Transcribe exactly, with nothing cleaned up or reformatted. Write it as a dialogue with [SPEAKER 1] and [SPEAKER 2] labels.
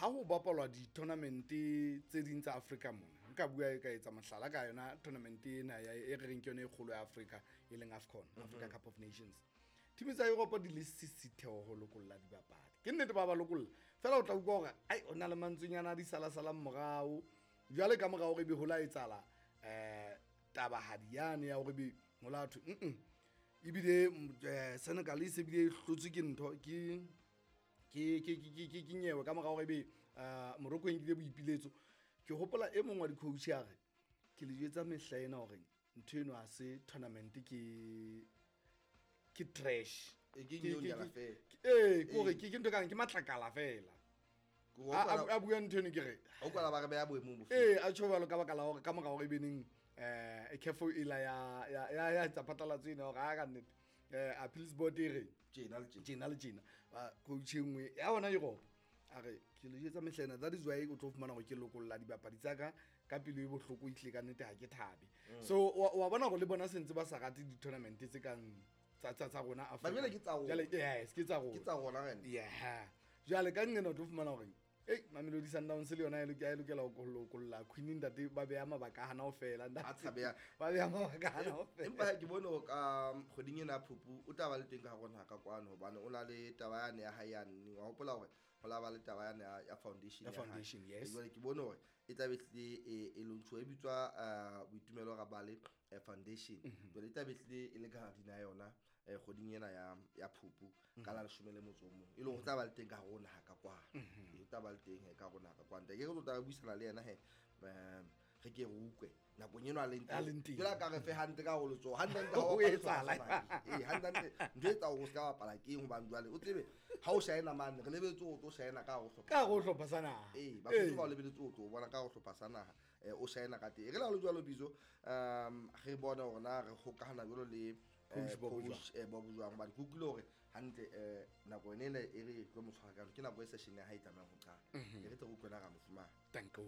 [SPEAKER 1] ho bapalwa di-tournament tse ding tsa Africa mona, nka bua ka etsa mohlala ka yona tournament ena ya e re reng ke yona e kgolo ya Africa, e leng AFCON, Africa Cup of Nations. Team tsa Europe di le sisitheo ho lokolla dibapadi. Ke nnete ba ba lokolla fela, o tla utlwa hore ai o na le mantswenyana a di salasalang morao. Jwale ka mora hore ebe ho la etsahala um tabahadi yane ya hore ebe ho la thwe mm ebile mm, eh, Senegal e se bile e hlotswe ke ntho ke ke ke ke ke ke nyewe ka mora hore ebe uh, Morocco e nkile boipiletso. Ke hopola e mong wa di-coach a re ke le jwetsa mehla ena hore ntho eno ha se tournament, ke ke trash.
[SPEAKER 2] E, ke
[SPEAKER 1] Ke- ke-
[SPEAKER 2] nyonyana
[SPEAKER 1] ke-
[SPEAKER 2] fela.
[SPEAKER 1] ke- ee, ke hore ke ke ntho e kang ke matlakala fela.
[SPEAKER 2] Ke ho
[SPEAKER 1] A-
[SPEAKER 2] kwala-
[SPEAKER 1] a a bua ntho eno ke re
[SPEAKER 2] ho kwala ba re beha boemong bofe?
[SPEAKER 1] Ee, a tjho jwalo ka baka la hore ka mora hore e beneng um C A F e la ya ya ya ya etsa phatlalatso ena hore ha ka nnete um appeals board e re
[SPEAKER 2] Tjena le tjena.
[SPEAKER 1] Tjena le tjena. Ba coach e nngwe ya ona Europe a re ke le jwetsa mehla ena, that is why o tlo fumana hore ke lokolla dibapadi tsa ka ka pelo e bohloko, ehlile ka nnete ha ke thabe. So wa wa bona hore le bona sentse ba sa rate di-tournament tse kang tsa tsa tsa rona Africa.
[SPEAKER 2] Ba jwale ke tsa rona.
[SPEAKER 1] Jwale, yes, ke tsa rona.
[SPEAKER 2] Ke tsa rona rena.
[SPEAKER 1] Yeah, jwale ka nqena o tlo fumana hore ei, Mamelodi Sundowns le yona e loke- e lokela ho lokolla Queen ntate, ba beha mabaka a hana ho fela ntate.
[SPEAKER 2] A tshabeha.
[SPEAKER 1] Ba beha mabaka a hana ho fela.
[SPEAKER 2] Empa ke bone hore ka kgweding ena ya Phupu o tla ba le teng ka hare ho naha ka kwano, hobane o na le taba yane ya hae yane. Wa hopola hore ho la ba le taba yane ya- ya foundation
[SPEAKER 1] Ya
[SPEAKER 2] ya hae.
[SPEAKER 1] foundation, yes.
[SPEAKER 2] Jwale ke bone hore e tla be hlile e e launchuwa, e bitswa eh, Boitumelo Rabale eh, Foundation. Jwale e tla be hlile e le ka hara ya yona eh, kgweding ena ya ya Phupu ka la leshome le motso o mong, e leng hore o tla ba le teng ka hare ho naha ka kwano. Ee, o tla ba le teng he ka hare ho naha ka kwano. Ke re tlo tla re buisana le yena he, um re ke re utlwe nakong eno a leng
[SPEAKER 1] A leng teng.
[SPEAKER 2] Jwale a ka re fe hantle ka hore letsoho hantle-hantle ha
[SPEAKER 1] Ho
[SPEAKER 2] o bapala
[SPEAKER 1] etsahala.
[SPEAKER 2] sehlopha sa naha. Ee, hantle-hantle ntho e etsang hore o se ka bapala ke eng? Hobane jwale o tsebe ha o shaena mane, re lebetse o tlo shaena ka hare ho hlopha.
[SPEAKER 1] Ka hare ho hlopha sa naha.
[SPEAKER 2] Ee, Basotho ba o lebeletse o tlo o bona ka hare ho hlopha sa naha, eh, o shaena ka teng. E re le ha ho le jwalo, Bizo, um re bone hore na re hokahana jwalo le eh,
[SPEAKER 1] Coach Bob
[SPEAKER 2] coach eh, Bob jwang, hobane ke utlwile hore hantle eh, nako ene ele e re tlo mo tshwara ka yona, ke nako e session ya hae e tlamehang ho qala. E re tle re utlwe na ra mo fumana.
[SPEAKER 1] Danko.